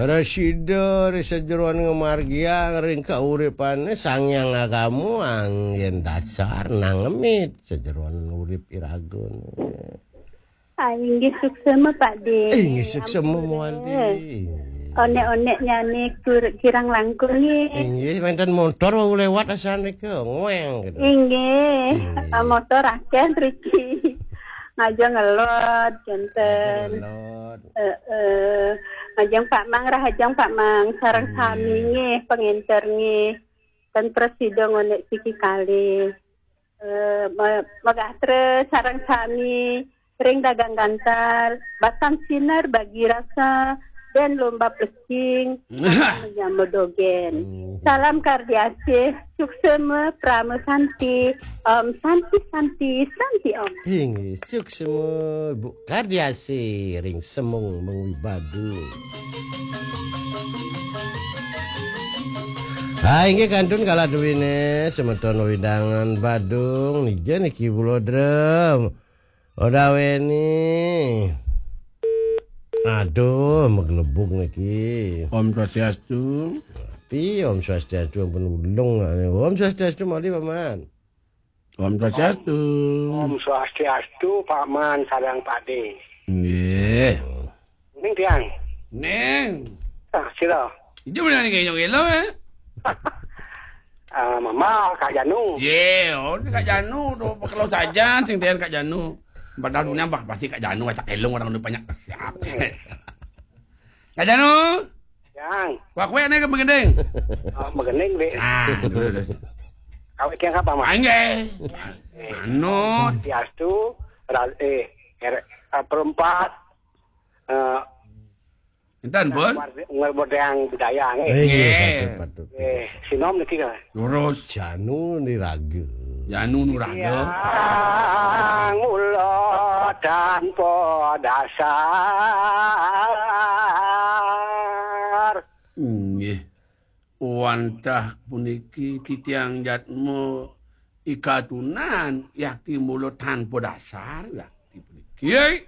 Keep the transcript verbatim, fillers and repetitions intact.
Prasida ri sajeroning ngamargiang ring kauripané, Sang Hyang Agama anggén dasar nangemit sajeroning urip iraga. Ah, inggih suksma, Pak Dé. Inggih suksma, Ampun, Wali. Onék-onéknyané kur-, kirang langkung, nggih. Inggih, wénten montor wau lewat asané ké, ngoéng gitu. Inggih. Inggih. Ah, motor akéh mriki. Ngajeng ngelod, kénten. Ngajeng ngelod. Heeh. Ngajeng Pak Mang, rahajeng Pak Mang, sareng sami nggih, pangénter nggih. Ten prasida ngonék siki kalih. Eh, ma-, magatra sareng sami ring dagang gantar, batang sinar bagi rasa, dan lomba plecing, nyama dogén. Hmm. Salam kardiasih, suksma, prama santi, om santi, santi, santi, om. Inggih, suksma, Bu Kardiasih, ring Semung Mengwi Badung. Ah, inggih kantun kala duwine semeton wewidangan Badung, nija niki Bulodrem. Odaweni. Aduh, maglebug niki. Om Swastiastu. Pi, Om Swastiastu, ampun ulung. Om Swastiastu, malih, Paman. Om Swastiastu. Om Swastiastu, Paman sareng Pak Dé. Nggih. Ning tiang. Ning. Ah, sira. Ijo bener ning ngeyong-ngeyong, eh? Ah, Mama, Kak Janu. Ye, oh, ini Kak Janu tuh, kalau saja sing tiang Kak Janu. Padahal dunia bah, pasti Kak Janu, acak elong orang udah banyak siap. Kak Janu? Yang. Kuak-kuak nih ke begending. Oh, begending, Dek. Ah, dulu, dulu. Kawit yang apa, Mas? Angge. Eh, Anu. Diastu, ra-, eh, er-, eh, perempat, eh, Enten pun. Ngar-, ngar-, budaya, nggih. Eh, nggih, nggih. Patut, patut. Eh, sinom niki kan. Lurus. Janu Niraga. Janu Nuraga. Yang mula tanpa dasar. Nggih. Wantah puniki titiang jatma ikatunan yakti mula tanpa dasar yakti puniki.